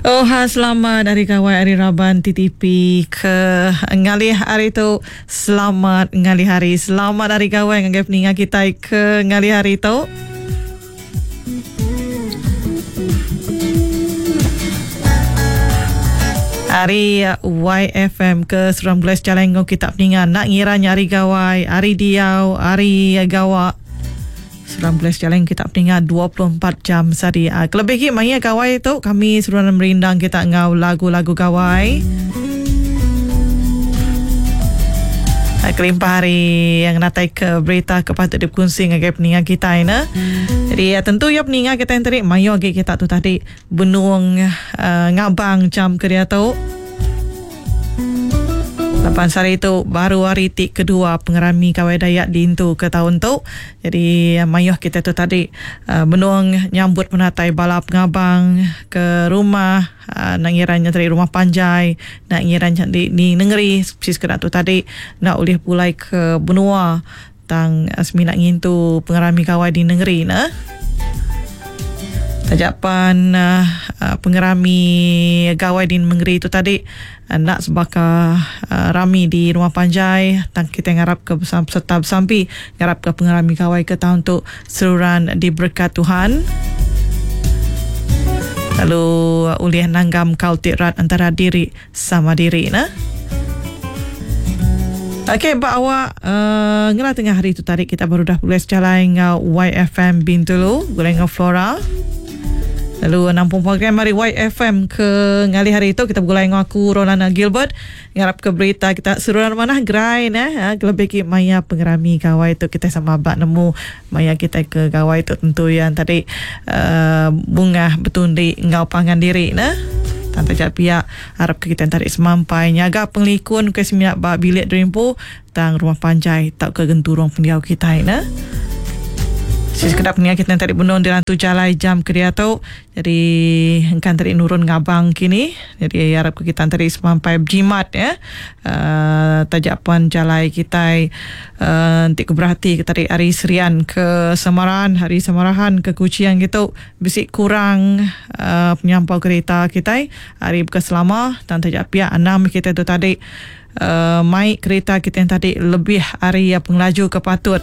Oha selamat hari gawai ari raban TTP ke ngalih hari tu. Selamat ngalih hari. Selamat hari gawai ngagai peninga kitai ke ngalih hari tu. Ari YFM ke Seram Glass Jalai enggau kita peninga nak ngira nya hari gawai, hari diau, hari gawa. Seram Glass Jalai enggau kita peninga 24 jam sehari. Ah, kelebih agi maya gawai tu kami seruran merindang kita enggau lagu-lagu gawai. Ah, kelimpah hari yang natai ke berita ke patut dipekunsi ngagai peninga kitai ne. Jadi ya, tentu ya peninga kita yang tadi mayu agi kita tu tadi benung uh, ngabang jam ke diatu. Laban sehari tu baru hari ti kedua pengerami Gawai Dayak diintu ke taun tu. Jadi mayuh kita tu tadi uh, benung nyambut penatai bala pengabang ke rumah uh, nak ngira nya tadi rumah panjai, nak ngira nya di, di nengeri si sekeda tu tadi nak ulih pulai ke benua tang uh, semina ngintu pengerami gawai di nengeri ne. Taja pan uh, pengerami gawai di nengeri tu tadi enda sebaka uh, rami di rumah panjai tang kita ngarap ke besam, serta besampi ngarap ke pengerami gawai ke tahun tu seruran diberkat Tuhan. Lalu ulih nanggam kaul ti rat antara diri sama diri ne. Okey, ba awak uh, ngela tengah hari tu tadi kita baru dah pulai sejalai enggau YFM Bintulu, gulai enggau Flora. Lalu nampung program hari YFM ke ngalih hari tu kita begulai enggau aku Rolana Gilbert. Ngarap ke berita kita seruran manah gerai ne. Ha, kelebih ki maya pengerami gawai tu kita sama ba nemu maya kita ke gawai tu tentu yang tadi uh, bungah betundi enggau pangan diri ne. Tang taja pia Arap ke kita entarik semampai nyaga pengelikun ke semina ba bilik derimpu tang rumah panjai tauka genturung pendiau kitai ne. Si sekeda pengingat kita entarik benung di rantu jalai jam ke diatu jadi engka entarik nurun ngabang kini jadi arap ke kita entarik semampai bejimat ya. Uh, taja pan jalai kitai uh, enti ke berati ke tadi ari Serian ke Samarahan, ari Samarahan ke Kuching gitu Bisi kurang penyampau kerita kitai ari baka selama tang taja pia anang mih kitai tu tadi mai kerita kitai tadi lebih ari pengelaju ke patut.